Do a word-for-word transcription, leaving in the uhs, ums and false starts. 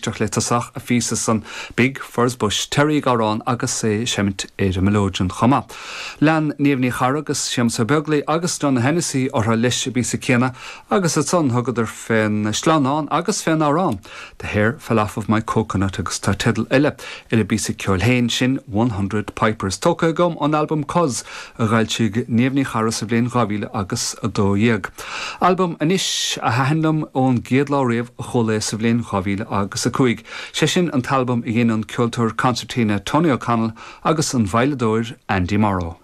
éisteacht le tosach a phíosa san Big Furze Bush Terry ag amhrán agus é ag seimint ar an mileoidean chomh maith. Lean Niamh Ní Charra agus Séamus Ó Beaglaoich agus Donogh Hennessy orthu leis an bpíosa céanna agus ansan thugadar fén sleamhnán agus fén amhrán. The hair fell off of my coconut agus tá teideal eile ar an bpíosa ceoil féin sin one hundred Pipers. Tógtha agam ón albam Cos a d'fhoilsigh Niamh Ní Charra sa bhliain dhá mhíle agus a dó dhéag. Albam anois a thaitin liom ón gcéad lá riamh a chuala é sa bhliain dhá mhíle agus a cúig. Sé sin an t-albam a dhein an ceoltóir concertina Tony O'Connell agus an veidhleadóir Andy Morrow.